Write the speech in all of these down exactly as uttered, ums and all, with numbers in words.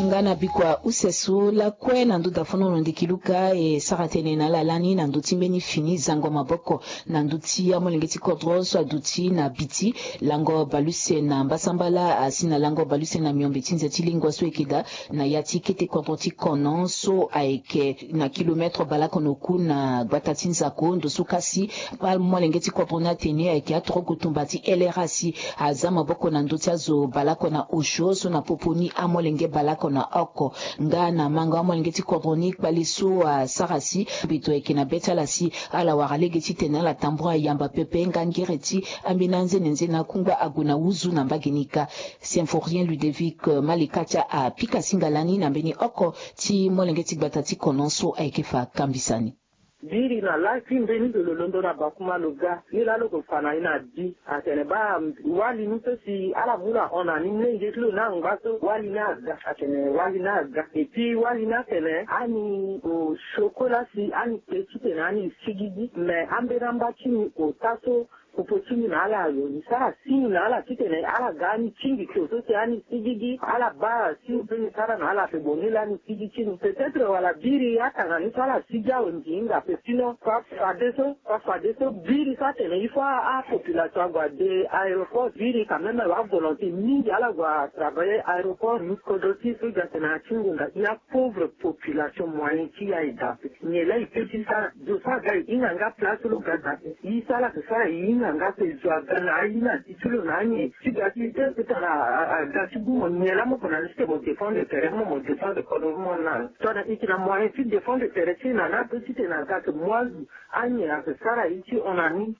Nga na bikua use so lakue na ndö dafono na ndiki luka e sara tënë na ala lani na ndö ti mbeni fini zango maboko na ndö ti amolenge ti kodro so aduti na Biti lango baluse na mbasambala asi na lango baluse na miombe ti nze ti lingua so eke daa na ya ti kete kodro ti Kono so ayeke na kilometre baleoko na oku na gbata ti Nzako. Ndo so kasi amolenge ti kodro ni atene ayeke atoroku tumba ti L R A si aza maboko na ndö ti azo baleoko na osio so na popo ni amolenge baleoko na oko. Nga na mango amolenge ti kodro ni kpale so asara si mbi to yeke na be ti ala si ala wara lege titene ala tambula yamba pepe nga ngere ti ambeni anzenenze na kungba ague na wuzu na mbage ni kâ. Symphorien Ludovic Malikatia apika singa lani na mbeni oko ti molenge ti gbata ti Kono so ayeke fa kambisa ni. Biri na laa ti mbeni ndo lo londo na bakuma lo ga ni laa lo ko fa na ni na bi atene baa wali ni so si ala mu lo ahon na ni mlenge ti lo ni angba so wali ni aga atene wali ni aga. Epui wali ni atene ani osio kue laa si ani kpe titene ani sigigi me ambeni amba ti ni ota so popo ti ni na ala ayo ni sara si ni na ala titene ala ga ani tingbi tio so si ani sigigi ala baa si ni sara na ala ape boni lani sigi ti ni peut-être wala biri atanga ni so ala sigi awe mbi hinga ape sinon fa fadeso fa fadeso biri so atene il faut apopulation ague ade aéroport biri quand même avolonté mingi ala gue atravailler aéroport ni kodro ti so gatene atingo nga i apauvre population moyen ti ya e daa ape. Nyen laa e peut ti sara zo so aga e hinga nga place lo ga daa ape. Ye so ala yeke sara e hinga nga ape zo aga na aye na ti ti lo na anyen ti ga ti ti ti tara aga ti gu mo nyen laa mo ko na ni ti tene mo défendre tere mo mo défendre kodro mo na tongana e yeke na moyen ti défendre tere ti e na ni ape ti tene aga ake mo azo anyen ake sara ye ti hon na ni.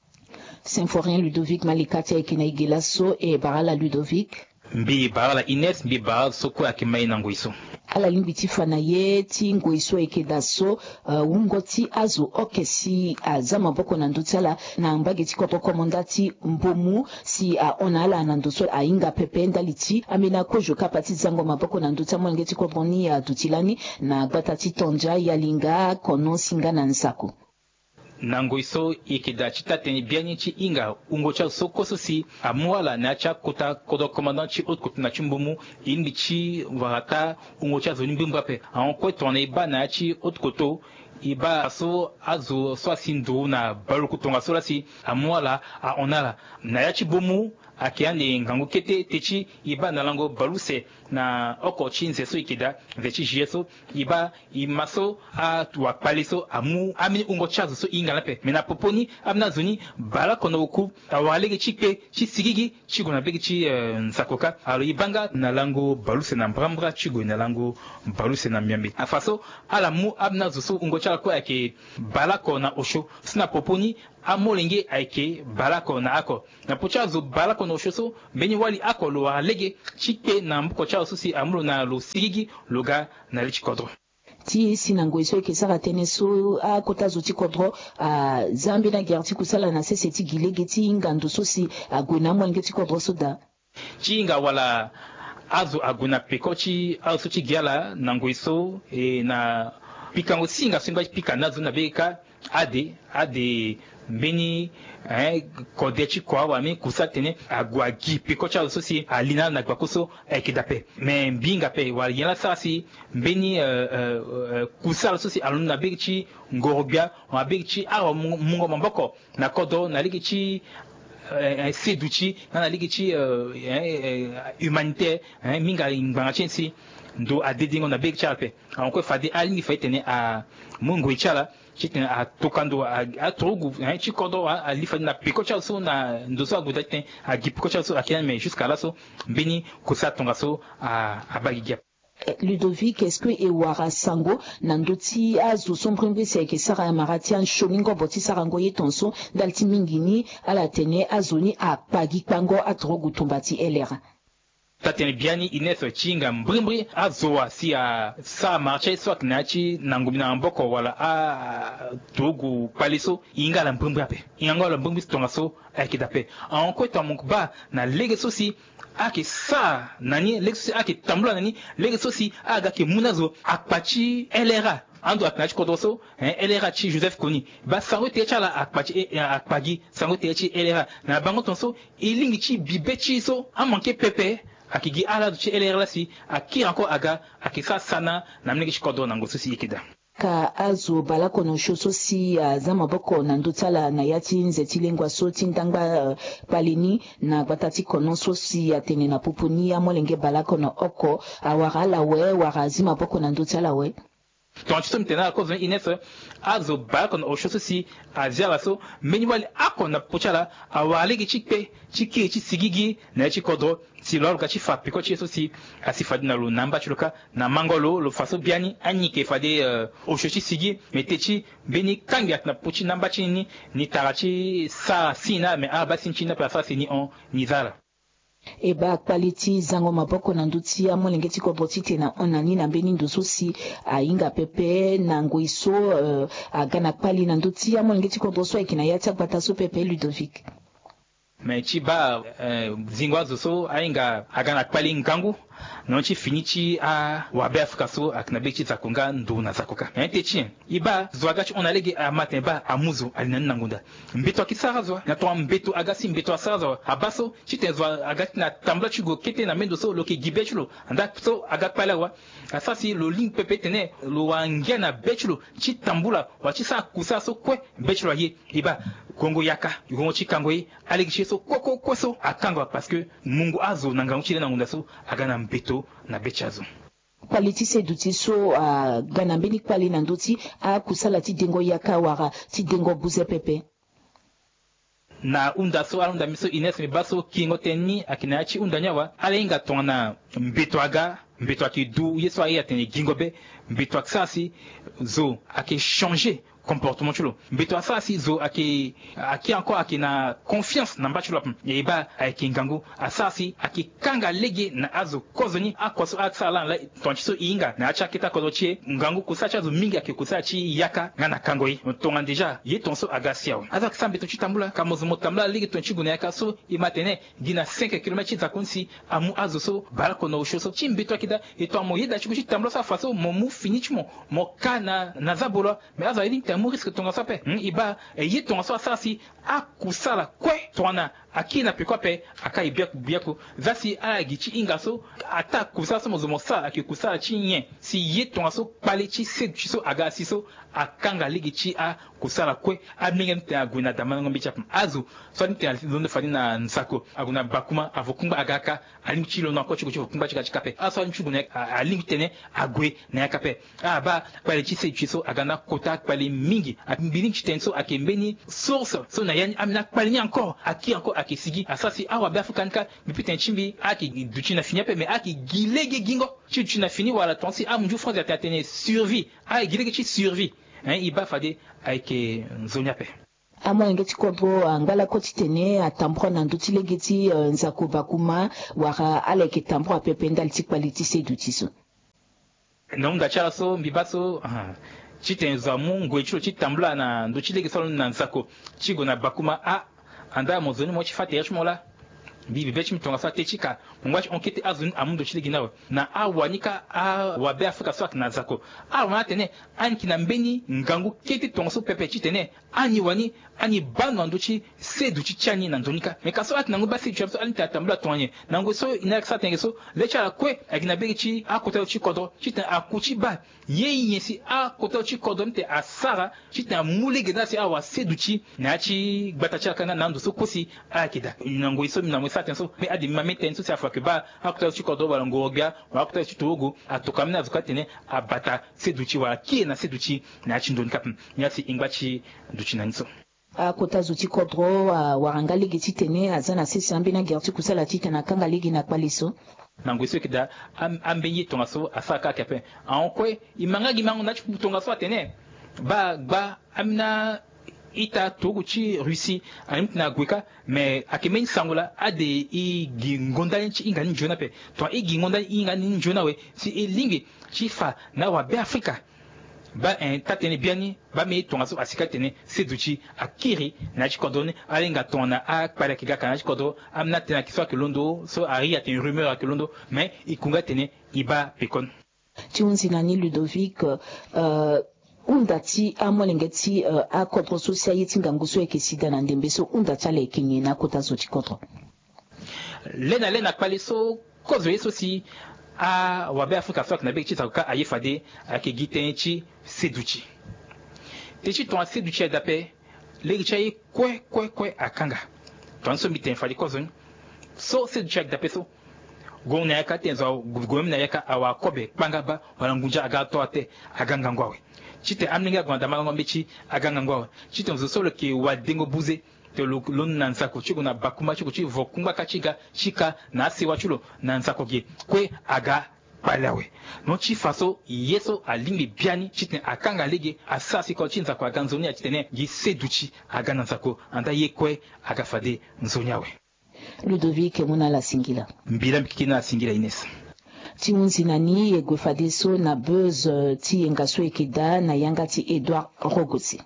Symphorien Ludovic Malika ti ayeke na e ge laso e bara ala Ludovic. Mbi bara ala Ines mbi bara ala so kue ayeke ma e na ngoi so. Ala lingbi ti fa na ye ti ngoi so ayeke daa so wungo ti azo oke si aza maboko na ndö ti ala na mbage ti kodro komanda ti Mbomu si ahon na ala na ndo so ahinga pepe ndali ti ambeni akozo kapa ti zango maboko na ndö ti amolenge ti kodro ni aduti lani na gbata ti Tondia, Yalinga, Kono si nga na Nzako. Na ngoi so e yeke daa ti taa-tënë biani ti hinga wungo ti azo so kue so si amu ala na ya ti akota kodro commandant ti haute couture na ti Mbomu e lingbi ti wara taa wungo ti azo ni mbrimbri ape. Ahon kue tongana e baa na ya ti haute couture e baa so azo so asi nduru na baluku tongaso laa si amu ala ahon na ala na ya ti Mbomu. Ayeke ande ngangu kete te ti e baa na lango baleuse na oko ti nze so e yeke daa nze ti juillet so e baa e ma so awakpale so amu ambeni wungo ti azo so e hinga ni ape me na popo ni ambeni azo ni baleoko na oku awara lege ti kpe ti sigigi ti gue na bege ti nzako kâ. Alo e baa nga na lango baleuse na mbrambra ti gue na lango baleuse na miombe afa so ala mu ambeni azo so wungo ti ala kue ayeke baleoko na osio si na popo ni amolenge ayeke baleoko na oko. Na popo ti azo baleoko na osio so mbeni wali oko lo wara lege ti kpe na maboko ti azo so si amu lo na lo sigigi lo ga na li ti kodro. Ti si na ngoi so e yeke sara tënë so akota zo ti kodro aza ambeni agere ti kusala na sese ti gi lege ti hinga ndo so si ague na amolenge ti kodro so daa. Ti hinga wala azo ague na peko ti azo so ti gi ala na ngoi so e na pikango si hinga so e ngba ti pika na azo ni na bege kâ. Ade ade mbeni eh, kode ti kua wala mbeni kusa tene ague agi peko ti azo so si ali na ala na gbako so ayeke daa ape. Me mbi hinga ape wala nyen laa sara si mbeni eh, eh, eh, kusa ala so si alondo na bege ti ngorogbia wala bege ti awa mungo maboko na kodro na lege ti eh, eh, seduti nga na lege ti eh, eh, eh, humanitaire eh, minga ngbanga ti e si ndo adedengo na bege ti ala ape. Ahon kue fade alingbi fa e tene amu ngoi ti ala titene atoka ndo aturugu ti kodro wala ali fade na peko ti azo so na ndo so ague daa titene agi peko ti azo so ayeke ni me jusqu'à laso mbeni kusa tongaso abaa gigi ape. Ludovic, est-ce que e wara sango na ndö ti azo so mbrimbri si ayeke sara mara ti ansioni ngobo ti sarango ye tongaso ndali ti mingi ni ala tene azo ni akpa gi kpango aturugu tumba ti L R A? Taa-tënë biani Ines ti hinga mbrimbri azo wa si asara mara ti aye so ayeke na ya ti nango mbi na maboko wala aturugu kpale so e hinga ala mbrimbri ape. E hingango ala mbrimbri si tongaso ayeke daa ape. Ahon kue tongana mo baa na lege so si ayeke sara na ni lege so si ayeke tambula na ni lege so si aga ayeke mu na azo akpa ti L R A. Ando ayeke na ya ti kodro so eh, L R A ti Joseph Kony baa sango tere ti ala akpa ti eh, akpa gi sango tere ti L R A na bango tongaso e lingbi ti bi be ti e so amanke pepe. Ayeke gi ala azo ti elere laa si akiri encore aga, ayeke sara sana na molenge ti kodro na ngoi so si e yeke daa. Ka azo baleoko na osio so si aza maboko na ndö ti ala na ya ti nze ti lengua so ti ndangba, eh, kpale ni na gbata ti kono so si atene na popo ni amolenge baleoko na oko awara ala awe wala azi maboko na ndö ti ala awe. Tongana ti so mbi tene na ala kozo ni Ines, azo baleoko na osio so si azi ala so mbeni wali oko na popo ti ala awara lege ti kpe ti kiri ti sigigi na ya ti kodro si lo aluka ti fa peko ti ye so si asi fade na lo na amba ti lo kâ. Na mango lo, lo fa so biani ani yeke fade, eh, osio ti sigi, me te ti mbeni kangbi ayeke na popo ti na amba ti ni, ni tara ti sara si na, me ala baa si ni ti ni ape asara si ni hon, ni za ala. E baa kpale ti zango maboko na ndö ti amolenge ti kodro titene ahon na ni na mbeni ndo so si ahinga pepe na ngoi so, eh, aga na kpale na ndö ti amolenge ti kodro so ayeke na ya ti agbata so pepe, Ludovic. Me ti baa, eh, zingo azo so ahinga aga na kpale ngangu na yanga ti fini ti awabe Afrika so ayeke na be ti zako nga ndo na zako kâ. Me ti ti e baa zo aga ti hon na lege ama tene baa amu zo ali na ni na ngonda. Mbeto ayeke sara zo wa, na tongana mbeto aga si mbeto asara zo wa. Abaa so titene zo aga ti na tambula ti gue kete na mbeni ndo so lo yeke gi be ti lo. Andaa so aga kpale awe wa, asara si lo lingbi pepe tene lo wara ngia na be ti lo ti tambula wala ti sara kusala so kue be ti lo aye. E baa gongo yaka, gongo ti kango ye, alege ti ye so kue kue kue so akanga wa parce que mungo azo na ngangu ti le na ngonda so aga na mbeto na be ti azo. Kpale ti seduti so aga na mbeni kpale na ndö ti akusala ti dengo yaka wala ti dengo buze pepe. Na hunda so ala hunda mbi so Ines, mbi baa so kiringo tënë ni ayeke na ya ti hunda ni awe. Ala hinga tongana mbeto aga, mbeto ayeke du ye so aye atene gingo be, mbeto ayeke sara si zo ayeke changer comportement ti lo. Mbeto asara si zo ayeke, ayeke encore ayeke na confiance na mba ti lo ape. E baa ayeke ngangu asara si ayeke kanga lege na azo kozo ni akua so asara lani laa. Tongana ti so e hinga na ya ti akete akodro ti e, ngangu kusala ti azo mingi ayeke kusala ti yaka nga na kango ye. Tongana déjà ye tongaso aga si awe, azo ayeke sara mbeto ti tambula ka mo zo mo tambula lege tongana ti gue na yaka so e ma tene gi na cinq kilomètre ti zako ni si amu azo so baleoko na osio so ti mbeto ayeke daa. E tongana mo yeda ti gue ti tambula so afa so mo mu fini ti mo, mo ka na, na zabolo. Me azo alingbi tene amu risque tongaso ape. Hmm, e baa, e ye tongaso asara si akusala kue tongana akiri na peko ape, aka e biaku biaku. Za si ala gi ti hinga so ataa kusala so mo zo mo sara ayeke kusala ti nyen? Si ye tongaso kpale ti seduti so aga si so akanga lege ti akusala kue. Amolenge ni tene ague na damandango mbeti ape. Azo so alingbi tene alondo fade na nzako ague na bakuma avo kungba aga kâ. Alingbi ti londo na kue ti gue ti vo kungba ti ga ti kâ ape. Azo so alingbi ti gue na yaka, a, alingbi tene ague na yaka ape. A baa kpale ti seduti so aga na kota kpale mingi. A, mbi lingbi ti tene so ayeke mbeni source so na ya ni ambeni akpale ni encore akiri encore ayeke sigi. Asara si awabe Afrika ni kâ, mbi peut tene ti mbi ayeke duti na fini ape, me ayeke gi lege gingo ti duti na fini wala tonga si amunzu France atene atene survie. Ayeke gi lege ti survie. Hein, e baa fade ayeke nzoni ape. Amolenge ti kodro angba lakue titene atambura na ndö ti lege ti, eh, nzako bakuma, wala ala yeke tambura pepe ndali ti kpale ti seduti so? Na hunda ti ala so mbi baa so, ah, titene zo amu ngoi ti lo ti tambula na ndö ti lege so alondo na nzako ti gue na bakuma, ah, andaa mo zo ni mo ye ti fâ tere ti mo laa. Mbi bibe ti mbi tongaso ate ti ka mo ngba ti hon kete azo ni amu ndo ti lege ni awe. Na awa ni kâ awabe Afrika so ayeke na zako, awa ni atene ani yeke na mbeni ngangu kete tongaso pepe titene ani wani ani baa ndo na ndö ti seduti ti ani na nzoni kâ. Me ka so ala yeke na ngoi baa seduti ape so ala ni tene atambula tongana nyen? Na ngoi so e na ala yeke sara tënë ge so le ti ala kue ayeke na be ge ti akota zo ti kodro titene aku ti baa ye nyen si akota zo ti kodro ni tene asara titene amu lege na ala si awara seduti na ya ti gbata ti ala kâ nga na ando so kue si ala yeke daa. Na ngoi so mbi na mo e sara tënë so me ade mbi ma mbeni tënë so si afa ayeke baa akota zo ti kodro wala ngoro-gbia wala akota zo ti torogo atokua ambeni azo kâ titene abata seduti wala kiri na seduti na ya ti ndo ni kâ ape. Ni asi e ngba ti duti na ni so. Akota zo ti kodro awara nga lege titene aza na sese ambeni agere ti kusala titene akanga lege na kpale so. Na ngoi so e yeke daa, am-, ambeni ye tongaso asara kâ ayeke ape. Ahon kue e ma nga gi mango na ya ti tongaso atene baa gba ambeni a-ita torogo ti Russie alingbi titene ague kâ. Me ayeke mbeni sango laa ade e gi ngonda ni ti hinga ni nzoni ape. Tongana e gi ngonda ni e hinga ni nzoni awe si e lingbi ti fa na awabe Afrika. Baa, eh, taa-tënë biani baa mbeni ye tongaso asi kâ titene seduti akiri na ya ti kodro ni. Ala hinga tongana akpale ayeke ga ka na ya ti kodro. Ambeni atënë ayeke so ayeke londo so ari atene rumeur ayeke londo. Me e ku nga titene e baa pekoni. Ti hunzi na ni Ludovic, eh, hunda ti amolenge ti, eh, akodro so si aye ti ngangu so ayeke si daa na ndembe so hunda ti ala ayeke nyen na akota zo ti kodro? Le na le na kpale so Kozo ye so si awabe Afrika so ayeke na bege ti nzako kâ aye fade ayeke gi tënë ti seduti. Tënë ti tongana seduti ayeke daa ape, lege ti aye kue kue kue akanga. Tongana so mbi tene fade kozo ni so seduti ayeke daa ape so, gue na yaka ti tene zo, gue même na yaka awara kobe kpanga baa wala ngunza aga to ate, aga ngangu awe. Ti tene amolenge ague na damangango mbeti, aga ngangu awe. Ti tene zo so lo yeke wadengo buze, tene lo londo na nzako ti gue na bakumba ti gue ti vo kungba kâ ti ga ti ka na asewa ti lo na nzako ge kue aga kpale awe. Non, ti fa so ye so alingbi biani ti tene akanga lege, asara si kodro ti nzako aga nzoni, ati tene gi seduti aga na nzako, anda ye kue aga fade nzoni awe. Ludovic, mu na ala singila. Mbila mbi kiki na ala singila, Ines. Ti hunzi na ni, e gue fadeso na buzz, eh, ti yenga so e yeke daa na yanga ti Edouard Rogosi.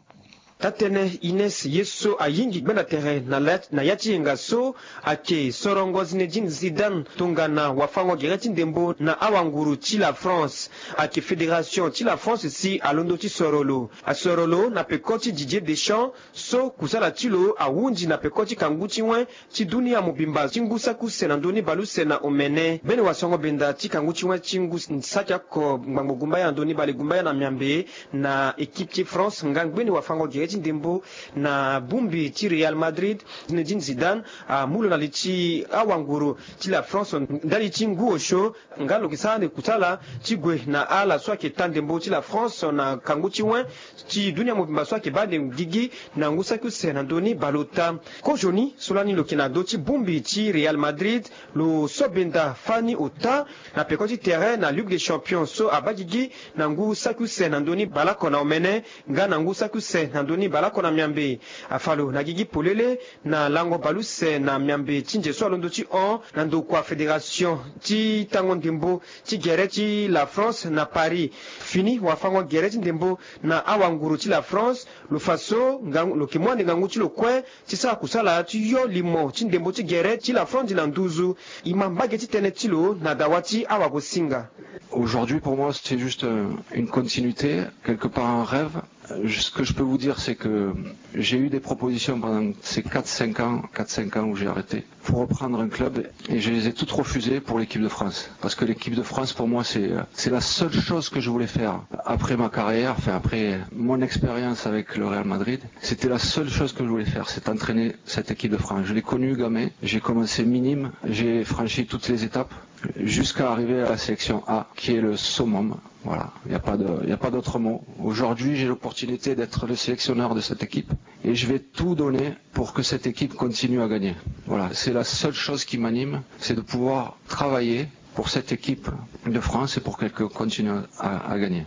Taa-tënë Ines, ye so ayingi gbenda tere na la, na ya ti yenga so ayeke sorongo Zinedine Zidane tongana wafango gere ti ndembo na awanguru ti la France. Ayeke fédération ti la France si alondo ti soro lo. Asoro lo na peko ti Didier Deschamps, so kusala ti lo ahunzi na peko ti kangu ti wen ti dunia mobimba ti ngu saki use na ndö ni baleuse na omene. Mbeni wasango benda ti kangu ti wen ti ngu saki oko ngbangbo gumbaya na ndö ni bale gumbaya na miambe na équipe ti France nga ngbeni wafango gere ti ndembo na bongbi ti Real Madrid, Zinedine Zidane, amu lo na li ti awanguru ti la France ndali ti ngu osio. Nga lo yeke sara ande kusala ti gue na ala so ayeke taa ndembo ti la France na kangu ti wen ti dunia mobimba so ayeke baa ande gigi na ngu saki use na ndö ni baleota. Kozoni so lani lo yeke na ndö ti bongbi ti Real Madrid, lo so benda fani ota na peko ti tere na Ligue des Champions so abaa gigi na ngu saki use na ndö ni baleoko na omene nga na ngu saki use na ndö ni baleoko na miambe. Afa lo na gigi polele na lango baleuse na miambe ti nze so alondo ti hon na ndokua fédération ti tango ndembo ti gere ti la France na Paris. Fini wafango gere ti ndembo na awanguru ti la France, lo fa so ngangu, lo yeke mu ande ngangu ti lo kue ti sara kusala ti yo limo ti ndembo ti gere ti la France na nduzu. E ma mbage ti tënë ti lo na dawa ti awagosinga. Aujourd'hui, pour moi, c'est juste, euh, une continuité, quelque part un rêve. Euh, ce que je peux vous dire, c'est que j'ai eu des propositions pendant ces quatre cinq ans, quatre cinq ans où j'ai arrêté, pour reprendre un club, et je les ai toutes refusées pour l'équipe de France. Parce que l'équipe de France, pour moi, c'est, euh, c'est la seule chose que je voulais faire après ma carrière, enfin, après mon expérience avec le Real Madrid. C'était la seule chose que je voulais faire, c'est entraîner cette équipe de France. Je l'ai connue gamin, j'ai commencé minime, j'ai franchi toutes les étapes jusqu'à arriver à la sélection A, qui est le summum. Voilà, il n'y a pas de, il n'y a pas d'autre mot. Aujourd'hui, j'ai l'opportunité d'être le sélectionneur de cette équipe et je vais tout donner pour que cette équipe continue à gagner. Voilà, c'est la seule chose qui m'anime, c'est de pouvoir travailler pour cette équipe de France et pour qu'elle continue à, à gagner.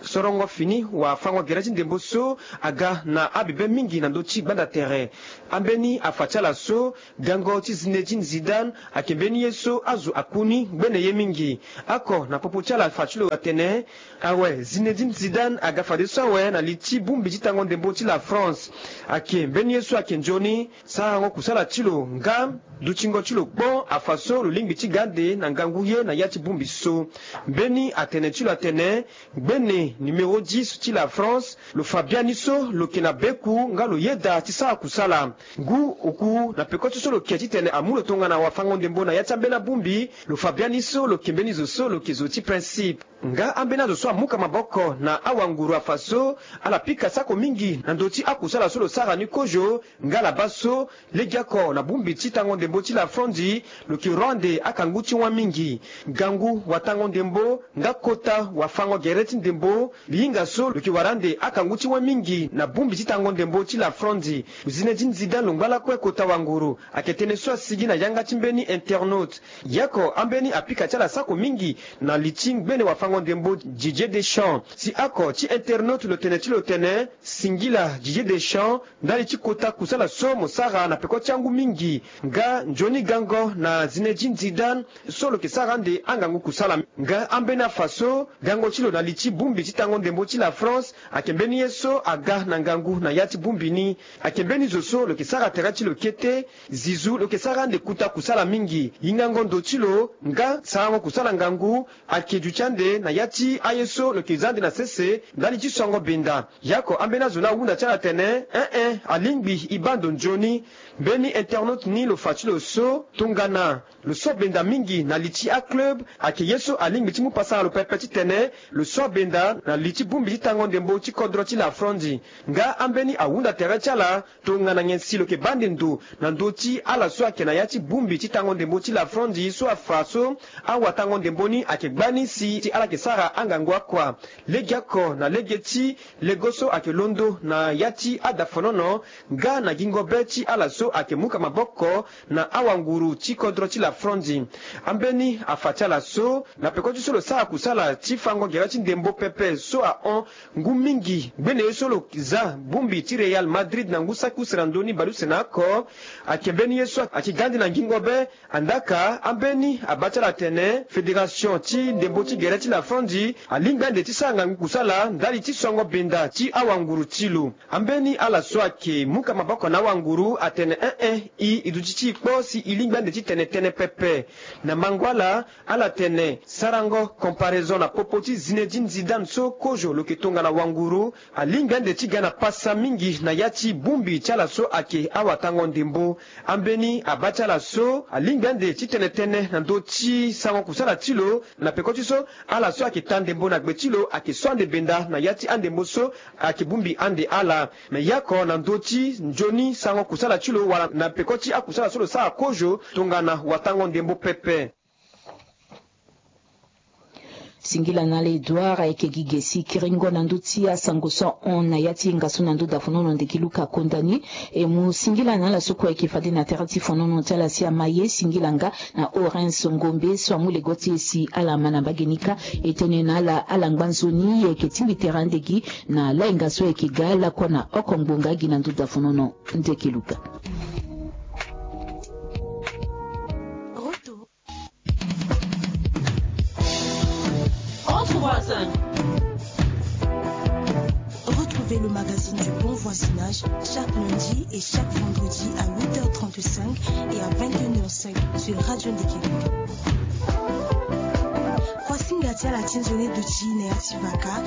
Sorongo fini wafango gere ti ndembo so aga na abebe mingi na ndö ti gbanda tere. Ambeni afa ti ala so, gango ti Zinedine Zidane ayeke mbeni ye so azo akuni ngbene ye mingi. Oko na popo ti ala afa ti lo atene, awe, Zinedine Zidane aga fadeso awe na li ti bongbi ti tango ndembo ti la France. Ayeke mbeni ye so ayeke nzoni sarango kusala ti lo nga dutingo ti lo kpo afa so lo lingbi ti ga ande na ngangu ye na ya ti bongbi so. Mbeni atene ti lo atene, ngbene numéro dix ti la France, lo fa biani so lo yeke na beku nga lo yeda ti sara kusala. Ngu oku na peko ti so lo yeke ti tene amu lo tongana wafango ndembo na ya ti ambeni abongbi, lo fa biani so lo yeke mbeni zo so lo yeke zo ti principe. Nga ambeni azo so amuka maboko na awanguru afa so, ala pika sako mingi na ndö ti akusala so lo sara ni kozo. Nga ala baa so, legeoko na bongbi ti tango ndembo ti la France, lo yeke ro ande akangu ti wen mingi. Ngangu watango ndembo nga kota wafango gere ti ndembo, mbi hinga so lo yeke wara ande akangu ti wen mingi na bongbi ti tango ndembo ti la France. Zinedine Zidane lo ngba lakue kota wanguru, ayeke tënë so asigi na yanga ti mbeni internaute. Ye oko ambeni apika ti ala sako mingi na li ti ngbene wafango ndembo Didier Deschamps. Si oko ti internaute lo tene ti lo tene, singila Didier Deschamps ndali ti kota kusala so mo sara na peko ti angu mingi. Nga nzoni gango na Zinedine Zidane so lo yeke sara ande angangu kusala. Nga ambeni afa so, gango ti lo na li ti bongbi ti tango ndembo ti la France ayeke mbeni ye so aga na ngangu na ya ti bongbi ni. Ayeke mbeni zo so lo yeke sara tere ti lo kete. Zizou lo yeke sara ande kota kusala mingi. Hingango ndo ti lo nga sarango kusala ngangu ayeke duti ande na ya ti aye so lo yeke za ande na sese ndali ti songo benda. Yako ambeni azo ni ahunda ti ala atene, eh eh, alingbi e baa ndo nzoni. Mbeni internaute ni lo fa ti lo so tongana lo so benda mingi na li ti aclub, ayeke ye so alingbi ti mu pasara lo pepe titene lo so benda na li ti bongbi ti tango ndembo ti kodro ti Lafrondi. Nga ambeni ahunda tere ti ala tongana nyen si lo yeke baa ande ndo na ndö ti ala so ayeke na ya ti bongbi ti tango ndembo ti Lafrondi so afa so awatango ndembo ni ayeke gbani si ti ala yeke sara angangu akua. Legeoko na lege ti lego so ayeke londo na ya ti adafonono nga na gingo be ti ala so ayeke muka maboko na awanguru ti kodro ti Lafrondi. Ambeni afa ti ala so na peko ti so lo sara kusala ti fango gere ti ndembo pepe so ahon ngu mingi ngbene ye so lo za bongbi ti Real Madrid na ngu saki use na ndö ni baleuse na oko. Ayeke mbeni ye so ayeke ga ande na ngingo be. Andaka ambeni abaa ti ala atene fédération ti ndembo ti gere ti Lafrondi alingbi ande ti sara ngangu kusala ndali ti songo benda ti awanguru ti lo. Ambeni ala so ayeke muka maboko na awanguru atene, eh eh, e, e duti ti e kpo si e lingbi ande ti tene tënë pepe. Na mango ala, ala tene sarango comparaison na popo ti Zinedine Zidane so kozo lo yeke tongana wanguru alingbi ande ti ga na pasa mingi na ya ti bongbi ti ala so ayeke awatango ndembo. Ambeni abaa ti ala so alingbi ande ti tene tënë na ndö ti sango kusala ti lo na peko ti so ala so ayeke taa ndembo na gbe ti lo ayeke so ande benda na ya ti andembo so ayeke bongbi ande ala. Me yako na ndö ti nzoni sango kusala ti lo wala na peko ti akusala so lo sara kozo tongana watango ndembo pepe. Singila na ala Edouard ayeke gi ge si kiringo na ndö ti asango so ahon na ya ti yenga so na ndö dafonono ndeki Luka Kondani. E mu singila na ala so kue ayeke fade na tere ti fonono ti ala si ama ye singila nga na Orens Ngombe so amu lego ti e si ala ma na mbage ni kâ. E tene na ala ala ngba nzoni e yeke tingbi tere ande gi na layenga so e yeke ga lakue na oko ngbonga gi na ndö dafonono ndeki Luka. Retour. Entre voisins. Retrouvez le magazine du bon voisinage chaque lundi et chaque vendredi à huit heures trente-cinq et à vingt et une heures cinq sur Radio Ndekele. Voici Ngati à la Tinzone de Chine et à Tivaka.